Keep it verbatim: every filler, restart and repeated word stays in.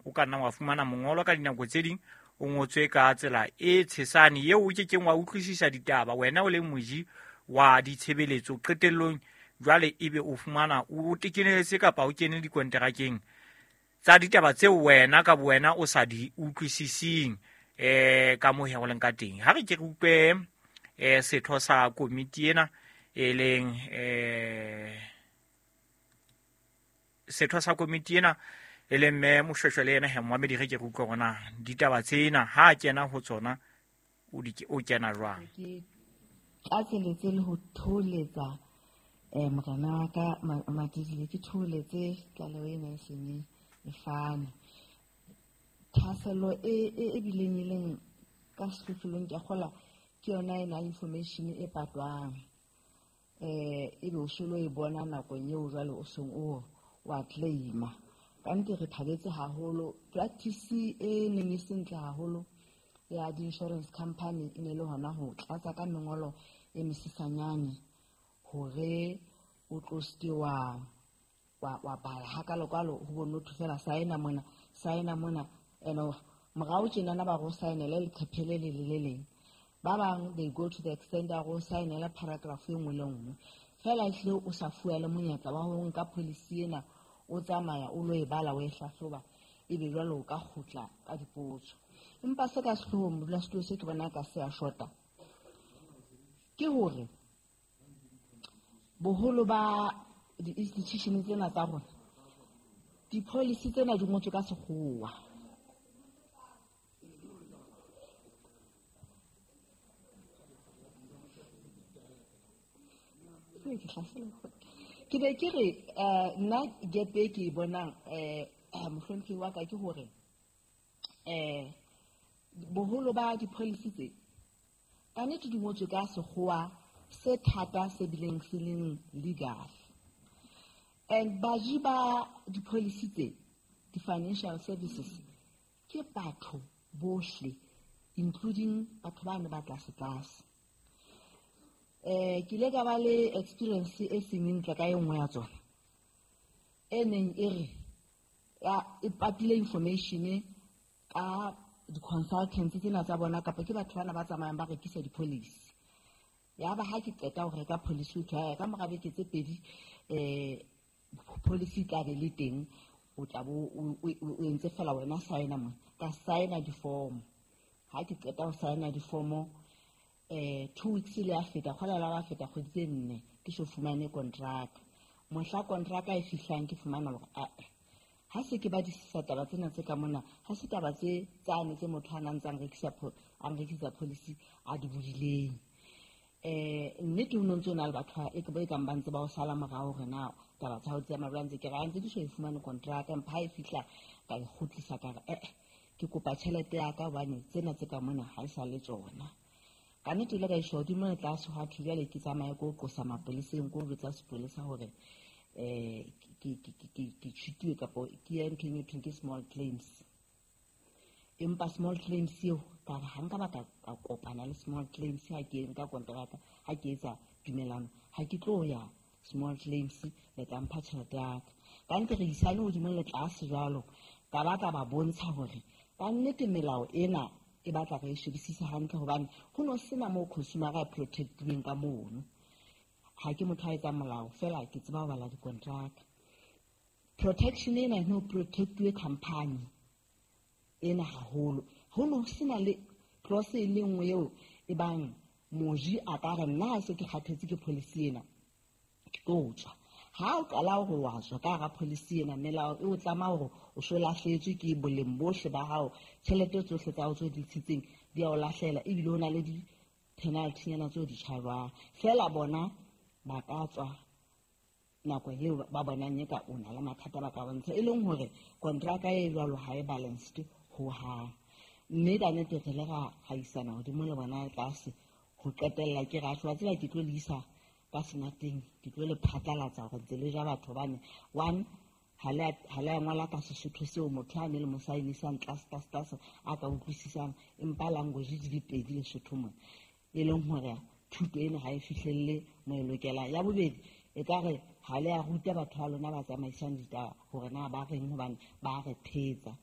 O ka nna wa fumana mongolo ka dinako tse ding o ngotswe ka tsela e tshesane eo o kekeng wa utlwisisa ditaba wena o le moji wa ditshebeletso. Qetellong jwale ebe o fumana o tekenetse kapa o kene dikonterakeng tsa ditaba tseo wena ka bowena o sa di utlwisising eh ka moo ho leng ka teng. Ha re ke re utlwe eh setho sa komiti ena e leng eh setho sa komiti ena e leng mme Moshweshwe le yena he Mohamedi, re ke re utlwe hore na ditaba tsena ha a kena ho tsona o di o kena jwang. Ke tlatseletse le ho tholetsa eh morena wa ka Matidile, ke thooletse tlaleho ena e seng e fane. Thahasello e e bileng e leng ka sehlohlolong ke a kgolwa ke yona ena information e patwang, eh ebe o so lo e bona nakong eo jwale o seng o wa claima. Ka nnete re thabetse haholo. Practice e neng e se ntle haholo ya di-insurance company e ne le hona ho tlatsa ka mengolo e mesesanyane hore o tlo seke wa wa wa bala hakalokalo ho bonotho fela saena mona saena mona. Ene morao tjenana ba go saenele leqephe le le le leng. Ba bang they go to the extent ya go saenela paragraph e nngwe le nngwe fela, ehlile o sa fuwa le monyetla wa ho nka policy ena o tsamaya o lo e bala o e hlahloba, ebe jwale o ka kgutla ka dipotso. Empa se ka sehloohong modulasetulo se ke bona ka se a shota ke hore boholo ba di-institution tsena tsa rona di-policy tsena di ngotswe ka sekgowa. Ke be ke re nna gap e ke e bonang um mohlomphehi wa ka ke hore um boholo ba di-policy tse ka nnete di ngotswe ka sekgowa se thata se bileng se leng legal. And baji ba di-policy tse di-financial services ke batho bohle including batho ba ne ba tlase tlase. Eh ke ile ka ba le experience e seng ntle ka e nngwe ya tsona e neng e re ya e patile information ka di-consultants tsena tsa bona kapa ke batho bana ba tsamayang ba rekisa di-policy. Ya ba ha ke qeta ho reka policy ho thwe ka mora beke tse pedi eh policy tla be le teng, o tla bo o entse fela wena saena mona. Ka saena di-form. Ha ke qeta ho saena di-form eh two weeks le a feta kgola la ba feta kgwedi tse nne ke so fumane contract. Mohla contract e fihlang ke fumana hore a ha se ke ba disisa taba tsena tse ka mona, ha se taba tse tsane tse motho a nang tsang rekisa a rekisa policy a di bodileng. Eh nnete ho no ntso na le batho e ke ba e kang ba ntse ba o sala morao hore na taba tsa hao di tsamaya jwang. Ntse ke re ha ntse ke so e fumane contract, empa ha e fihla ka e kgutlisa ka re eh ke kopa tjhelete ya ka hobane tsena tse ka mona ha e sa le tsona. Ka nnete ile ka iswa hodimo le tlase hwa thwe jwale ke tsamaye ko qosa mapoleseng, ko jwetsa sepolesa hore eh ke ke ke ke tjhutiwe kapo ke ye nthong e thweng ke small claims. Empa small claims eo ka re ha nka ba ka kopana le small claims ha ke nka kontraka, ha ke etsa tumelano, ha ke tlo ya small claims le tla mpha tjhelete ya ka. Ka nnete re isane hodimo le tlase jwalo, ka ba ka ba bontsha hore ka nnete melao ena e batla re e shebisise hantle hobane ho no sena moo consumer a protectuweng ka mono. Ha ke motho a etsang molao fela ke tseba ho bala dikontraka. Protection ena e no protectuwe company ena haholo. Ho no sena le clause e le nngwe eo e bang moji a ka re nna ha se ke kgathetse ke policy ena ke tlo tswa. Ha o qala hore wa tswa ka hara policy ena, melao e o tlama hore o so lahlehetswe ke boleng bohle ba hao, tjhelete tsohle tsa hao tse di ntshitseng di a o lahlela, ebile ho na le di-penalty nyana tseo di charge-wang. Fela bona ba ka tswa nako eo ba bonang eka o na le mathata ba ka bontsha, e leng hore kontraka e jwalo ha e balanced hohang. Mme ka nnete re ile ra isana hodimo le bona tlase ho qetella ke re wa tseba ke tlo le isa ka senateng, ke tlo le phatlalatsa hore ntse le ja batho hobane one ha le ha le ngola ka Sesotho seo motho a ne le mo saenisang tlase tlase tlase a ka utlwisisang, empa language di le pedi Lesotho mona, e leng hore thuto ena ha e fihlelle mo e lokelang. Ya bobedi e ka re ha le a ruta batho ba lona ba tsamaisang ditaba hore na ba reng hobane ba re thetsa.